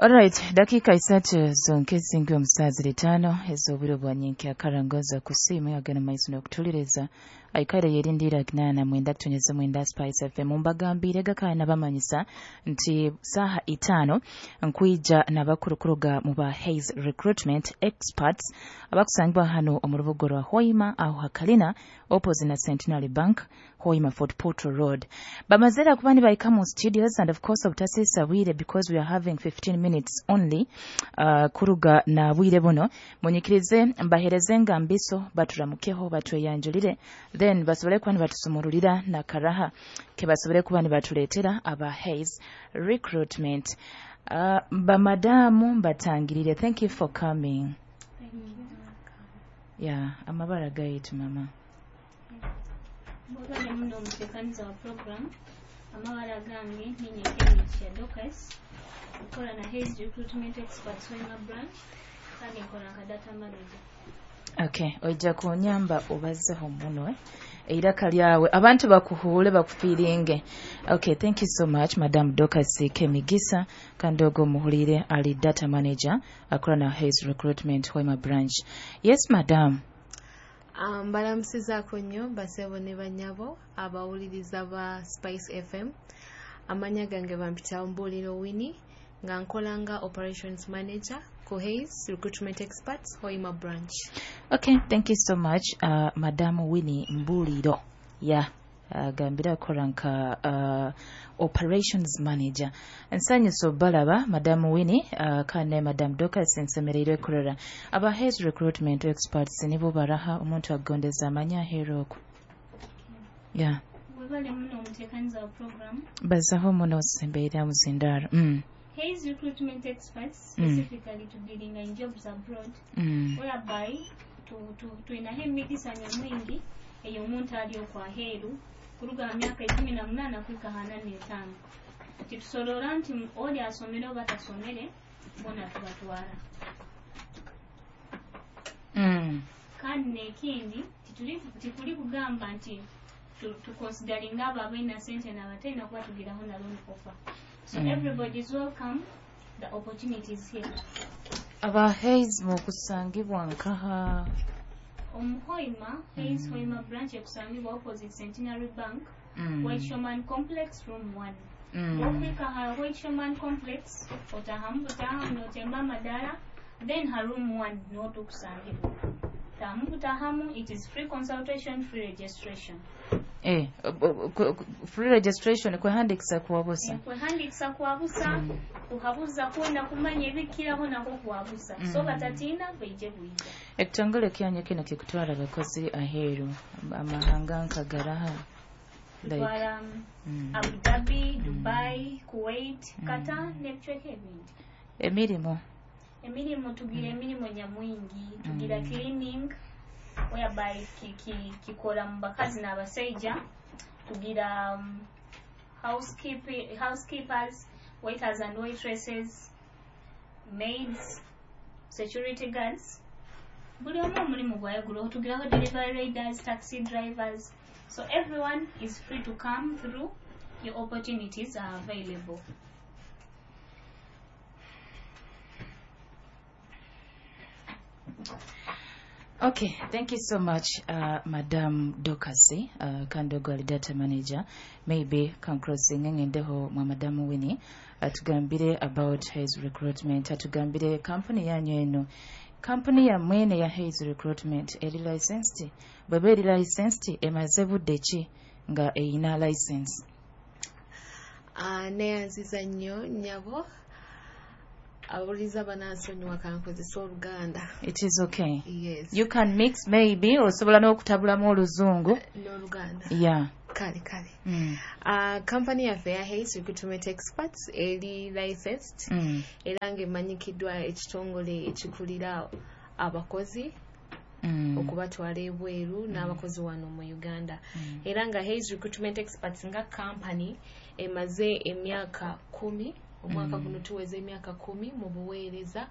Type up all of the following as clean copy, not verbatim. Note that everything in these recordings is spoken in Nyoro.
Alright, dakika 3 zonke zingi omusazi 5 ez'obwire bwa nyenkya karangoza kusiima agana maiso n'okutuliriza aikaire yerindira 89 Spice FM. Mbagambire gakaya nabamanyisa nti saha 5 nkwija n'abakurukuruga mu ba Hays Recruitment Experts abakusangibwa hano omu rubuga rwa Hoima aho hakalina opposite na Centenary Bank, Hoima Fort Portal Road. Bamazera kuba nibaika mu studios, and of course obutasisa bwire because we are having 15 minutes only kuruga na bwire buno. Munyikirize mbahereze ngambiso baturamukeho batweyanjulire, then basobole kuba nibatusumurulira na karaha ke basobole kuba nibatuleetera aba Hays Recruitment. Bamadamu mbatangirire, thank you for coming. Thank you. Yeah, amabara gaitu mama. Mwebale muno omuteekaniza wa program. Amabara gange ninye Kemigisha Dorcas, nkola na Hays Recruitment Experts Hoima branch, kandi nkola nka data manager. Okay, ojja kunyamba obazeho muno eiraka lyawe abantu bakuhuule bakufiiringe. Okay, thank you so much Madam Dorcas Kemigisa, kandi ogwo muhulire ali data manager akola na Hays Recruitment Hoima branch. Yes madam. Mbalamusizaako nnyo basebo ne banyabo abawuliriza ba Spice FM. Amanya gange bampita Mbuuliro Winnie, nga nkola nga operations manager ku Hays Recruitment Experts Hoima branch. Okay, thank you so much Madam Winnie Mbuuliro. Yeah, gambira akola nka operations manager. Nsanyusa obalaba Madam Winnie kane Madam Dorcas nsemereirwe kurora aba Hays Recruitment Experts nibo baraha omuntu agondeza amanya aheeru okwo. Yeah. Mwebale muno omuteekaniza wa program. Bazaho muno sembeera muzindaro. Hays Recruitment Experts specifically to dealing in jobs abroad, whereby tulinaho emigisa nyamwingi ey'omuntu ali okwaheeru kuruga mu myaka 18 kuhika 45. Titusorora nti oli asomere oba tasomere, bona tubatwara. Kandi n'ekindi tikuli kugamba nti tukonsidaringa abo abalina sente n'abatalina kuba tugiraho na loan offer. So everybody is welcome, the opportunity is here. Aba Hays mukusangibwa nkaha? Omuhoima, Hays Hoima branch ekusangibwa opposite Centenary Bank, White Showman Complex, room 1. Ofika ha White Showman Complex, otahamu butahamu notemba amadala, then ha room 1 notukusangibwa. Tahamu butahamu, it is free consultation, free registration. Free registration kwehandikisa kuwabusa. Kwehandikisa kuwabusa, kuhabuza kwenda kumanya ebikiraho nako kuwabusa. So batatina beije bwija. Ekitongole kyanyu kino kikutwara abakozi aheeru amahanga nkagaraha like Abu Dhabi, Dubai, Kuwait, Qatar n'ebicweka ebindi. Emirimu tugira emirimu nyamwingi, tugira cleaning whereby kikola mu bakazi n'abasajja, tugira housekeepers, waiters and waitresses, maids, security guards. Buli omu omulimu gwayagula. Tugiraho delivery riders, taxi drivers. So everyone is free to come through. Your opportunities are available. Okay, thank you so much, Madam Dorcas, Kandogo ali data manager. Maybe conclosing ngendeho mwa Madam Winnie, atugambire about Hays Recruitment, atugambire company yanyu eno. Company ya mwene ya Hays Recruitment eri licensed, bweba eri licensed emaze budde ki nga eyina license? Neyanziza nnyo nnyabo. Abawuliriza banansonyiwa kankozesa Oluganda. It is okay. Yes. You can mix maybe, osobola n'okutabulamu Oluzungu n'Oluganda. Yeah. Kale kale. Company yaffe ya Hays Recruitment Experts eri licensed, era ng'emanyikiddwa ekitongole ekikulira abakozi okubatwala ebweru n'abakozi wano mu Uganda. Era nga Hays Recruitment Experts nga company emaze emyaka 10, omwaka guno tuweza emyaka 10 mu buweereza,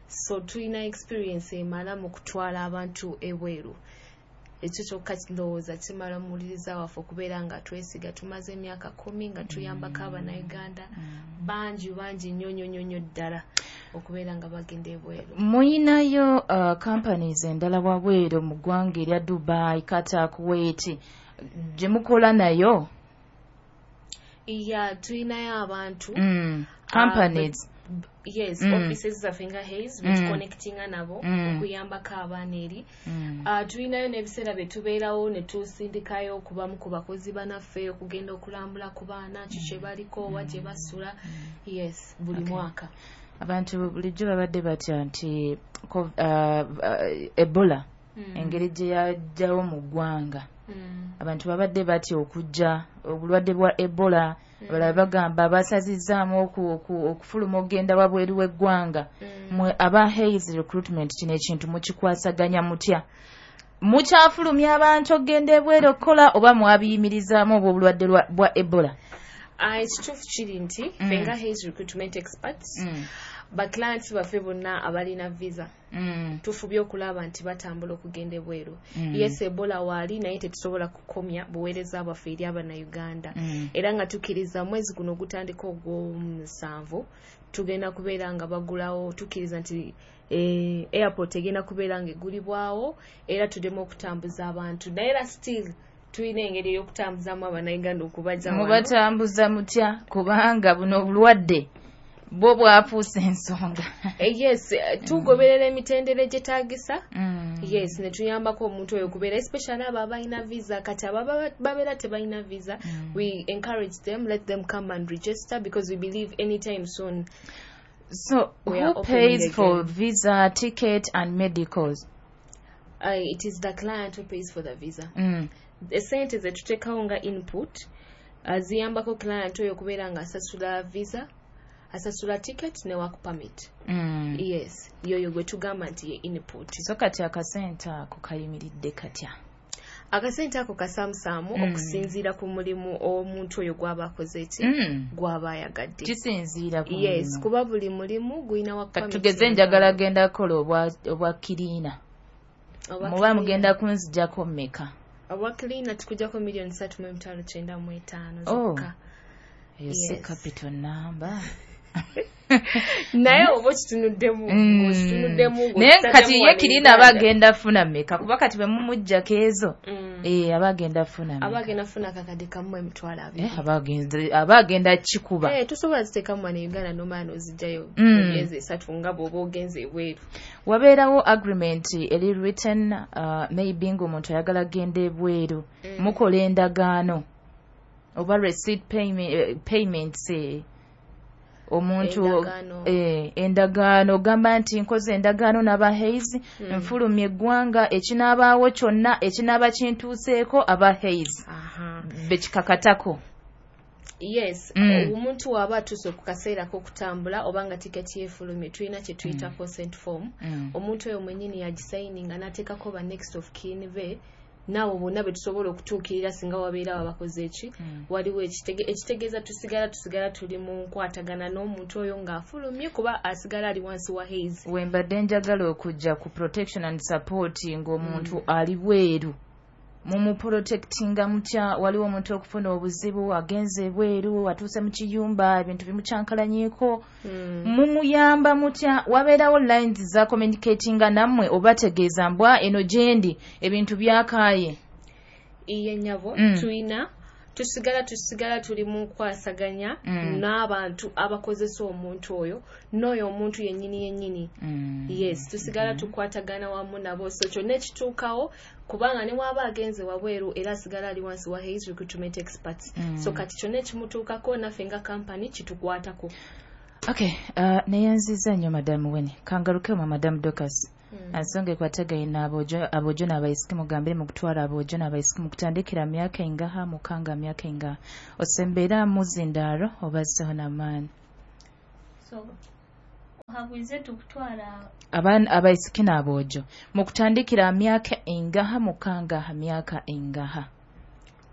so tulina experience emala mu kutwala abantu ebweru. Ekyo kyokka ndowooza kimala muwuliriza waffe okubeera nga twesiga. Tumaze emyaka 10 nga tuyambako Abannayuganda bangi bangi nnyo nnyo nnyo nnyo ddala. Okubeera nga bagenda ebweru. Muyinayo companies endala wabweru mu ggwanga erya Dubai, Qatar, Kuwait gye mukola nayo? Yeah, tuyinayo abantu. Companies. Yes, offices zaffe nga Hays betuconnectinga nabo okuyambako abaana eri. Tulinayo n'ebiseera bye tubeerawo ne tusindikayo okubamu ku bakozi banaffe okugenda okulambula ku baana, ki kye baliko, wa gye basula. Yes, buli mwaka. Abantu bulijjo babadde batya nti Ebola engeri gye yajjawo mu ggwanga, abantu babadde batya okujja obulwadde bwa Ebola. Abalala bagamba basazizzaamu okufuluma okugenda wabweru w'eggwanga. Mwe aba Hays Recruitment, kino ekintu mukikwasaganya mutya? Mukyafulumya abantu okugenda ebweru okukola oba mwabiyimirizaamu obwo obulwadde bwa Ebola? Ekituufu kiri nti ffe nga Hays Recruitment Experts, baclients baffe bonna abalina visa tufubye okulaba nti batambula okugenda ebweru. Yes, Ebola waali, naye tetusobola kukomya buweereza bwaffe eri Abannayuganda. Era nga tukkiriza mwezi guno ogutandika ogw'omusanvu tugenda kubeera nga bagulawo. Tukkiriza nti airport egenda kubeera nga egulibwawo era tuddemu okutambuza abantu, naye era still tulina engeri ey'okutambuzamu Abannayuganda okubajja wano. Mubatambuza mutya, kubanga buno obulwadde bwo bwafuuse ensonga? Yes, tugoberera emitendera egyetaagisa. Yes, ne tuyambako omuntu oyo okubeera, especially abo abalina visa. Kati abo babeera tebalina visa, we encourage them, let them come and register, because we believe anytime soon So we who are opening pays for again. visa, ticket and medicals? It is the client who pays for the visa. Esente zetuteekawo nga input ziyambako client oyo okubeera nga asasula visa, asasula ticket ne work permit. Yes, yoyo gwe tugamba nti ye input. So kati akasente ako kayimiridde katya? Akasente ako kasaamusaamu okusinziira ku mulimu omuntu oyo gw'aba akoze ki, gw'aba ayagadde. Kisinziira ku Yes, mulimu. kuba buli mulimu gulina work Kati permit tugeze enjawulo. Njagala genda kukola obwa cleaner. Obwa Muba cleaner. mugenda kunzijjako mmeka? Obwa cleaner tukujjako 3,995,000 Oh. zokka. Eyo si Yes. capital number. Naye oba okitunuddemu, ng'okitunuddemu, Naye ng'okitaddemu kati ye wano cleaner aba Uganda. agenda funa mmeka? Kuba kati bwe mumuggyako ezo, aba agenda funa mmeka? Aba agenda funa 1,020,000. Aba agenda kikuba. Tosobola ziteekamu wano e Uganda n'omala n'ozijjayo mu myezi 3 nga bw'oba ogenze ebweru. Wabeerawo agreement eri written, maybe ng'omuntu ayagala genda ebweru, mukola endagaano oba receipt payments, omuntu Endagaano. Endagaano ogamba nti nkoze endagaano n'aba Hays, nfulumya eggwanga, ekinaabaawo kyonna ekinaaba kintuuseeko aba Hays bekikakatako. Yes, omuntu w'aba atuuse ku kaseera k'okutambula oba nga tiketi yeefulumye, tulina kye tuyita consent form. Omuntu oyo mwennyini yagisayininga n'ateekako ba next of kin be naabo bonna be tusobola okutuukirira singa wabeerawo abakoze eki. Waliwo ekitegeeza tusigala tuli mu nkwatagana n'omuntu oyo ng'afulumye, kuba asigala ali wansi wa Hays. We mbadde njagala okujja ku protection and support ng'omuntu ali bweru, mumuprotectinga mutya? Waliwo omuntu okufuna obuzibu, agenze ebweru, atuuse mu kiyumba, ebintu bimukyankalanyeko, mumuyamba mutya? Wabeerawo lines za communicatinga nammwe obategeeza mbwa eno gyendi ebintu byakaaye? Iye nnyabo, tulina tusigala tuli mu nkwasaganya n'abantu abakozesa omuntu oyo n'oyo omuntu yennyini yennyini. Yes, tusigala tukwatagana wamu nabo, so kyonna ekituukawo, kubanga ne bw'aba agenze wabweru era asigala ali wansi wa Hays Recruitment Experts. So kati kyonna ekimutuukako naffe nga kampani kitukwatako. Okay, neyanziza nnyo Madamu Weni. Kangaluke mu Madamu Dorcas. Ensonga ekwatagaine n'aboojo n'abaisiki, mugambire mu kutwala aboojo n'abaisiki mu kutandikira myaka engaha, mukanga myaka engaha, osembeera muzindaaro obazzeho n'amaani. So habwize tukutwala abaana abaisiki n'aboojo mu kutandikira myaka engaha, mukanga myaka engaha?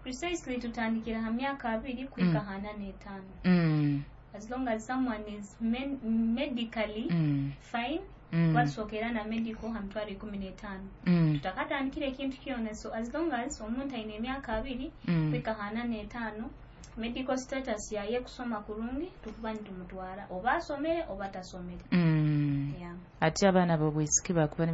Precisely tutandikira ha myaka 20 kuhika 45. As long as someone is medically fine, basookera na medical ha 15,000. Tutakatandikira ekintu kyona, so as long as omuntu ayina emyaka 20 kuhika 45. Medical status yaye kusoma kurungi, tukuba nitumutwara oba asomere oba tasomere. Yeah. Ate abaana b'obwisiki bakuba.